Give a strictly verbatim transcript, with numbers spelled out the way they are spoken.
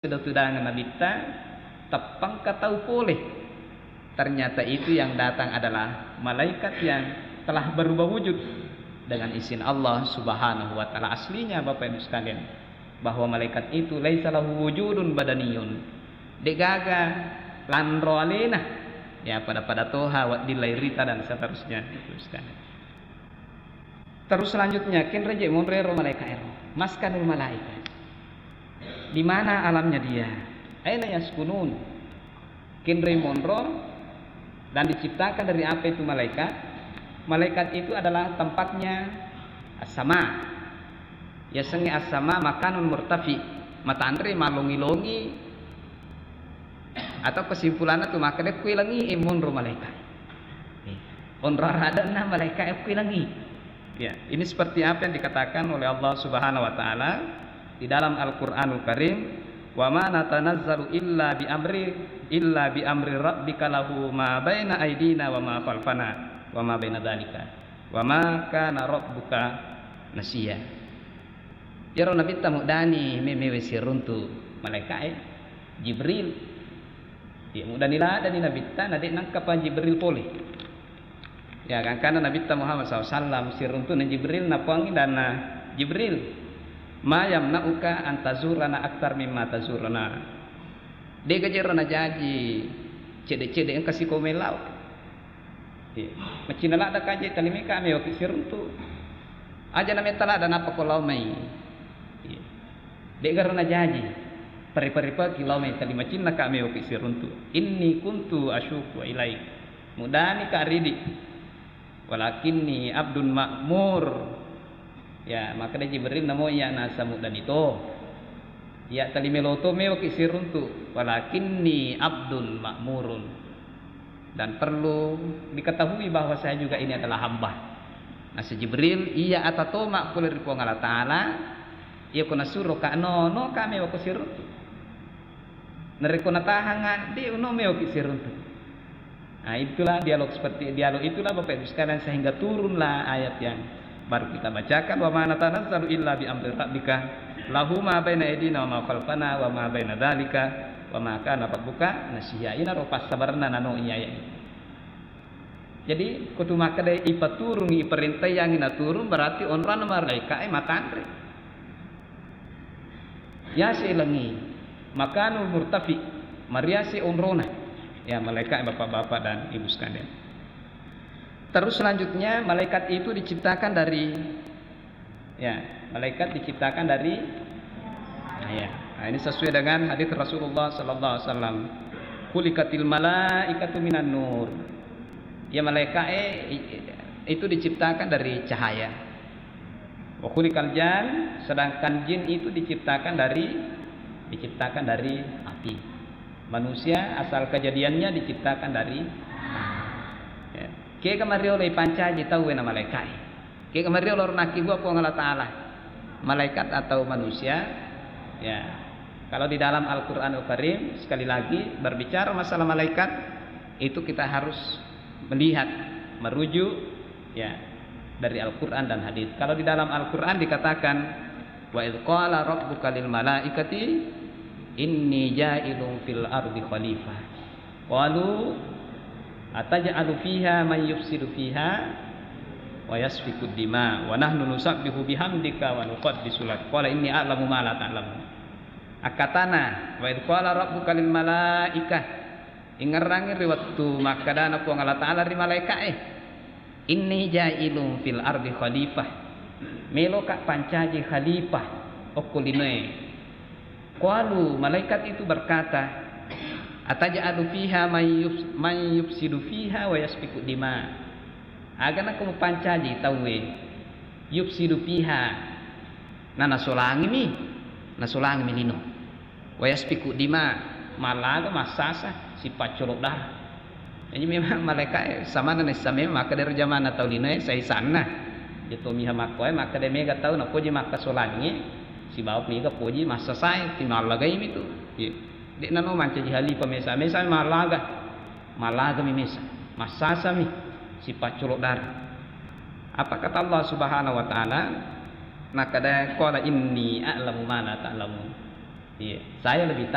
Sudah tudangeng Nabitta, teppengka tau pole. Ternyata itu yang datang adalah malaikat yang telah berubah wujud dengan izin Allah Subhanahu wa Ta'ala. Aslinya, Bapak Ibu sekalian, bahwa malaikat itu laisa lahu wujudun badaniyun, degaga lanro alena, ya, pada-pada toha, wedding lairita, dan seterusnya, Bapak Ibu sekalian. Terus selanjutnya, kenreje monro ero malaika ero. Maskanul malaika. Di mana alamnya dia? Aina yaskunun? Kenre monro dan diciptakan dari apa itu malaikat? Malaikat itu adalah tempatnya as-sama. Yasengnge as-sama makanun murtafi. Matanre malongi-longi. Atau kesimpulanna tu makkeda, kui langi e monro malaika. Onro aradanna malaika e kui langi. Ya, ini seperti apa yang dikatakan oleh Allah Subhanahu wa Ta'ala di dalam Al-Quranul Karim, "Wa ma natanazzalu illa bi amri, illa bi amri rabbika lahu ma baina aidina wa ma khalfana wa ma baina dzalika wa ma kana rabbuka nasiya." Iyaro Nabitta muddani me-, mewe siruntu malaika e, Jibril. Iya, muddani ladani Nabitta, na de nangkapa Jibril pole. Ya, gangkanna Nabitta Muhammad sallallahu alaihi wasallam, siruntu'na Jibril, napoangngi danna Jibril, "Ma yamna'uka an tazurana aktar mimma tazurana?" De'ga jero najaji cedde-cedde engka siko mellau. Iya. Macinna ladda kaje talimika mewaki siruntu. Aja na metta ladda nappa ko lao mai. Iya. De'garo najaji. Pare-parepaki lao mai tali macinnaka mewaki siruntu. Inni kuntu asyuku ilaik. Mudani ka ridi. Walakinni abdun ma'mur. Ya, makkeda Jibril, namo iya nasa muddani to. Iya tali melo to mewaki siruntu. Walakinni abdun ma'murun. Dan perlu diketahui bahwa saya juga ini adalah hamba. Nasa Jibril, iya atatoma pole ri Puang Allah Ta'ala, iya ko nasuro ka no, no ka mewako siruntu. Narekko natahanga, de uno mewaki siruntu. Nah, itulah dialog seperti, dialog itulah Bapak Ibu sekalian, sehingga turunlah ayat yang baru kita bacakan, "Wa ma natanazzalu illa bi amri rabbika, lahu ma baina aidina wa ma khalfana wa ma baina dzalika, wa ma kana rabbuka nasiya." Inaro passabarenna nano iya ayat. Jadi, kutu makkeda ipaturungi, iparentaiyangi naturung, berarti onronna malaika e matanre. Yase langi, makanul murtafi, mariase onrona. Ya, malaika e, bapak-bapak dan ibu sekalian. Terus selanjutnya, malaikat itu diciptakan dari, ya, malaikat diciptakan dari cahaya. Nah, ini sesuai dengan hadis Rasulullah sallallahu alaihi wasallam. "Khuliqatil malaikatu minan nur." Ya, malaikat e, i-, itu diciptakan dari cahaya. "Wa khuliqal jan," sedangkan jin itu diciptakan dari, diciptakan dari api. Manusia asal kejadiannya diciptakan dari, ya. Kega mariolo ipancaji tauwe na malaika e? Kega mariolo ro nakkibua Puang Allah Ta'ala? Malaikat atau manusia? Ya. Kalau di dalam Al-Quranul Karim, sekali lagi, berbicara masalah malaikat, itu kita harus melihat, merujuk, ya, dari Al-Quran dan hadis. Kalau di dalam Al-Quran dikatakan, "Wa idz qala rabbuka lil malaikati inni ja'ilun fil ardi khalifah." Qalu ataj'alu fiha man yufsidu fiha wa yasfiku dima wa nahnu nusabbihu bihamdika wa nuqaddisu lak. Qala inni a'lamu ma la ta'lamun. Akkatana, "Wa idz qala rabbuka lil malaikah." Ingerrangi ri wettu makkedana Puang Allah Ta'ala ri malaika e, "Inni ja'ilun fil ardi khalifah." Meloka pancaji khalifah okko linoe. Qalu, malaikat itu berkata, "Ataj'alu fiha man yufs-, man yufsidu fiha wa yasfiku dima." Aga nako mupancaji tauwe yufsidu fiha, na nasolangimi, nasolangimi lino. Wa yasfiku dima, mallaga massasa, sipaccolo darah. Jadi memang malaika e samanna naissa memang makkeda ro jamanna tau linoe saisanna. Jadi to miha makkoe makkeda mega tau napoji makkasolangnge sibawa mega poji massasae, timallagaimi tu. Iya. De'na no mancaji halifa mesa, mesa mallaga. Mallagami mesa. Massasami sipaccolo darah. Apa kata Allah Subhanahu wa Ta'ala? Nakkeda, "Qala inni a'lamu ma la ta'lamun." Iya, saya lebih